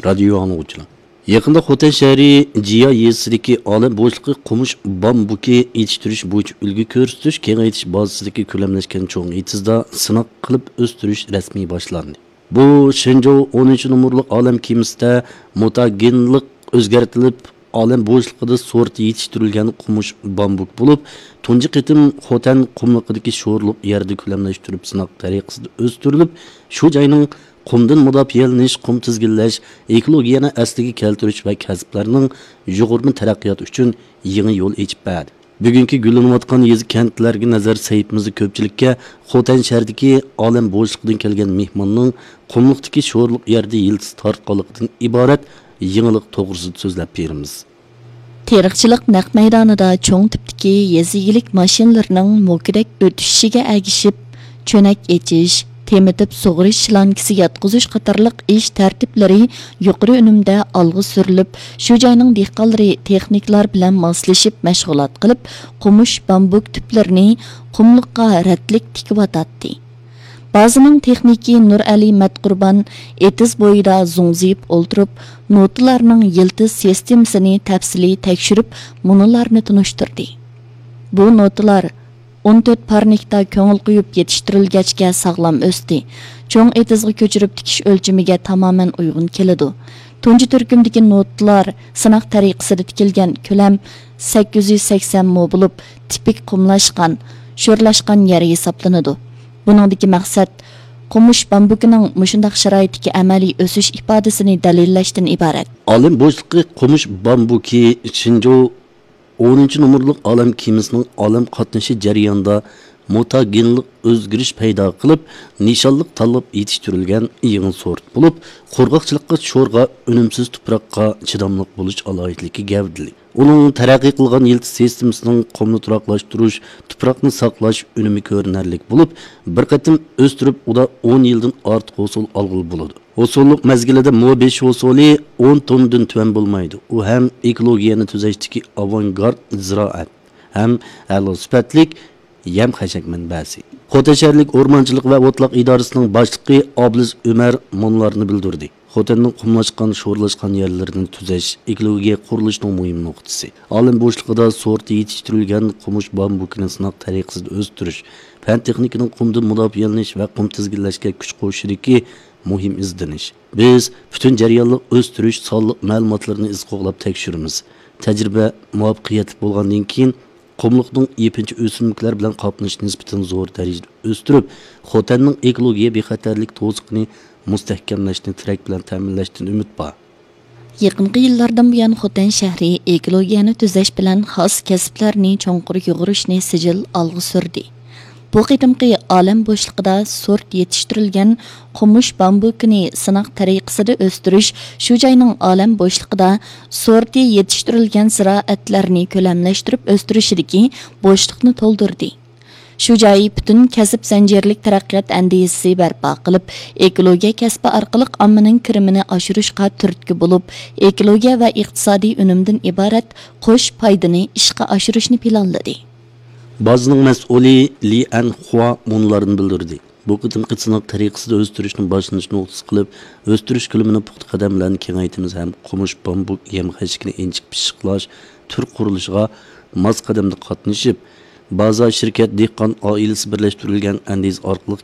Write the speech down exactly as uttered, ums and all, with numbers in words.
رادىيو ئاڭلىغۇچىلار! يېقىندا خوتەن شەھىرى جىيا يېزىسىدىكى ئالەم بوشلۇقى قومۇش بامبۇكى يېتىشتۈرۈش بويىچە ئۈلگە كۆرسىتىش كېڭەيتىش بازىسىدىكى كۆلەملەشكەن چوڭ ئېتىزدا سىناق قىلىپ ئۆستۈرۈش رەسمىي باشلاندى. بۇ شېنجوۋ ئونىنچى نومۇرلۇق ئالەم كېمىسىدە مۇتاگېنلىق ئۆزگەرتىلىپ، ئالەم بوشلۇقىدا سورتى يېتىشتۈرۈلگەن قومۇش بامبۇك بولۇپ، تۇنجى قېتىم خوتەن قۇملۇقىدىكى شورلۇق يەردە كۆلەملەشتۈرۈپ سىناق تەرىقىسىدە ئۆستۈرۈلۈپ، شۇ جاينىڭ قۇمدىن مۇداپىئەلىنىش، قۇم تىزگىنلەش، ئېكولوگىيەنى ئەسلىگە كەلتۈرۈش ۋە كەسىپلەرنىڭ يۇغۇرما تەرەققىياتى ئۈچۈن يېڭى يول ئېچىپ بەردى. بۈگۈنكى گۈللىنىۋاتقان يېزا، كەنتلەرگە نەزەر سەھىپىمىزدە كۆپچىلىككە خوتەن شەھىرىدىكى ئالەم بوشلۇقىدىن كەلگەن مېھماننىڭ قۇملۇقتىكى شورلۇق يەردە يىلتىز تارتقانلىقىدىن ئىبارەت يېڭىلىق توغرىسىدا سۆزلەپ بېرىمىز. تېرىقچىلىق نەق مەيدانىدا چوڭ تىپتىكى يېزا ئىگىلىك ماشىنىلىرىنىڭ موكىدەك ئۆتۈشۈشىگە ئەگىشىپ، چۆنەك ئېچىش، تېمىتىپ سۇغىرىش شلانكىسى ياتقۇزۇش قاتارلىق ئىش تەرتىپلىرى يۇقىرى ئۈنۈمدە ئالغا سۈرۈلۈپ، شۇ جاينىڭ دېھقانلىرى تېخنىكلار بىلەن ماسلىشىپ مەشغۇلات قىلىپ، قومۇش بامبۇك تۈپلىرىنى قۇملۇققا رەتلىك تىكىۋاتاتتى. بازىنىڭ تېخنىكى نۇرئەلى مەتقۇربان ئېتىز بويىدا زوڭزىيىپ ئولتۇرۇپ، نوتىلارنىڭ يىلتىز سىستېمىسىنى تەپسىلىي تەكشۈرۈپ، مۇنۇلارنى تونۇشتۇردى: بۇ نوتىلار ئون تۆت پارنىكتا كۆڭۈل قويۇپ يېتىشتۈرۈلگەچكە ساغلام ئۆستى. چوڭ ئېتىزغا كۆچۈرۈپ تىكىش ئۆلچىمىگە تامامەن ئۇيغۇن كېلىدۇ. تۇنجى تۈركۈمدىكى نوتىلار سىناق تەرىقىسىدە تىكىلگەن، كۆلەم سەككىز يۈز سەكسەن مو بولۇپ، تىپىك قۇملاشقان، شورلاشقان يەر ھېسابلىنىدۇ. بۇنىڭدىكى مەقسەت قومۇش بامبۇكىنىڭ مۇشۇنداق شارائىتتىكى ئەمەلىي ئۆسۈش ئىپادىسىنى دەلىللەشتىن ئىبارەت. ئالەم بوشلۇقى قومۇش بامبۇكى شېنجوۋ ئونىنچى نومۇرلۇق ئالەم كېمىسىنىڭ ئالەم قاتنىشى جەريانىدا مۇتاگېنلىق ئۆزگىرىش پەيدا قىلىپ، نىشانلىق تاللاپ يېتىشتۈرۈلگەن يېڭى سورت بولۇپ، قۇرغاقچىلىققا، شورغا، ئۈنۈمسىز تۇپراققا چىداملىق بولۇش ئالاھىدىلىكى گەۋدىلىك. ئۇنىڭ تەرەققىي قىلغان يىلتىز سىستېمىسىنىڭ قۇمنى تۇراقلاشتۇرۇش، تۇپراقنى ساقلاش ئۈنۈمى كۆرۈنەرلىك بولۇپ، بىر قېتىم ئۆستۈرۈپ، ئۇدا ئون يىلدىن ئارتۇق ھوسۇل ئالغىلى بولىدۇ. ھوسۇللۇق مەزگىلىدە مو بېشى ھوسۇلى ئون توننىدىن تۆۋەن بولمايدۇ. ئۇ ھەم ئېكولوگىيەنى تۈزەشتىكى ئاۋانگارت زىرائەت، ھەم ئەلا سۈپەتلىك يەم-خەشەك مەنبەسى. خوتەن شەھەرلىك ئورمانچىلىق ۋە ئوتلاق ئىدارىسىنىڭ باشلىقى ئابلىز ئۆمەر مۇنۇلارنى بىلدۈردى: خوتەننىڭ قۇملاشقان، شورلاشقان يەرلىرىنى تۈزەش ئېكولوگىيە قۇرۇلۇشىنىڭ مۇھىم نۇقتىسى. ئالەم بوشلۇقىدا سورتى يېتىشتۈرۈلگەن قومۇش بامبۇكىنى سىناق تەرىقىسىدە ئۆستۈرۈش، پەن-تېخنىكىنىڭ قۇمدىن مۇداپىئەلىنىش ۋە قۇم تىزگىنلەشكە كۈچ قوشۇشىدىكى مۇھىم ئىزدىنىش. بىز پۈتۈن جەريانلىق ئۆستۈرۈش سانلىق مەلۇماتلىرىنى ئىز قوغلاپ تەكشۈرىمىز. تەجرىبە مۇۋەپپەقىيەتلىك بولغاندىن كېيىن، قۇملۇقنىڭ يېپىنچا ئۆسۈملۈكلەر بىلەن قاپلىنىشى نىسبىتەن زور دەرىجىدە ئۆستۈرۈپ، خوتەننىڭ ئېكولوگىيە بىخەتەرلىك توسۇقىنى مۇستەھكەملەشنى تىرەك بىلەن تەمىنلەشتىن ئۈمىد بار. يېقىنقى يىللاردىن بۇيان، خوتەن شەھىرى ئېكولوگىيەنى تۈزەش بىلەن خاس كەسىپلەرنى چوڭقۇر يۇغۇرۇشنى سىجىل ئالغا سۈردى. بۇ قېتىمقى ئالەم بوشلۇقىدا سورت يېتىشتۈرۈلگەن قومۇش بامبۇكىنى سىناق تەرىقىسىدە ئۆستۈرۈش، شۇ جاينىڭ ئالەم بوشلۇقىدا سورتى يېتىشتۈرۈلگەن زىرائەتلەرنى كۆلەملەشتۈرۈپ ئۆستۈرۈشىدىكى بوشلۇقنى تولدۇردى. شۇ جاي پۈتۈن كەسىپ زەنجىرلىك تەرەققىيات ئەندىزىسى بەرپا قىلىپ، ئېكولوگىيە كەسپى ئارقىلىق ئاممىنىڭ كىرىمىنى ئاشۇرۇشقا تۈرتكە بولۇپ، ئېكولوگىيە ۋە ئىقتىسادىي ئۈنۈمدىن ئىبارەت قوش پايدىنى ئىشقا ئاشۇرۇشنى پىلانلىدى. بازىنىڭ مەسئۇلى لى ئەنخۇا مۇنۇلارنى بىلدۈردى: بۇ قېتىمقى سىناق تەرىقىسىدە ئۆستۈرۈشنىڭ باشلىنىش نۇقتىسى قىلىپ، ئۆستۈرۈش كۆلىمىنى پۇختا قەدەم بىلەن كېڭەيتىمىز ھەم قومۇش بامبۇك يەم-خەشىكىنى ئىنچىكە پىششىقلاش، تۈر قۇرۇلۇشىغا ماس قەدەمدە قاتنىشىپ، بازا شىركەت دېھقان ئائىلىسى بىرلەشتۈرۈلگەن ئەندىزە ئارقىلىق